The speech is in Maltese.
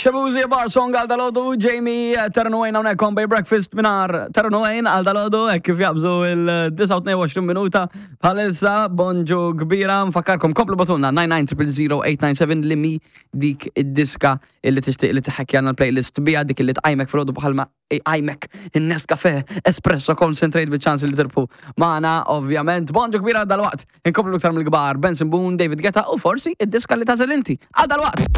Shabuzi Bar Song għal dalodu, Jamie Ternuajn hawnhekk on Bay Breakfast minar Ternuajn għal dalodu, hekk kif jabżu il-29 minuta bħalissa, bonġu kbira, nfakkarkom komplu batulna 99000897 li mi dik id-diska illi tixtieq li tħekkjana l-playlist bija dik illi tqajmek filgħodu bħalma iqajmek in-Nescafe Espresso Concentrate biċ-ċans li tirbħu magħna ovvjament. Bonġu kbira dal-waqt. Inkomplu iktar mill-kbar Benson Boone, David Guetta u forsi id-diska li tagħżel inti. Għal dal-waqt!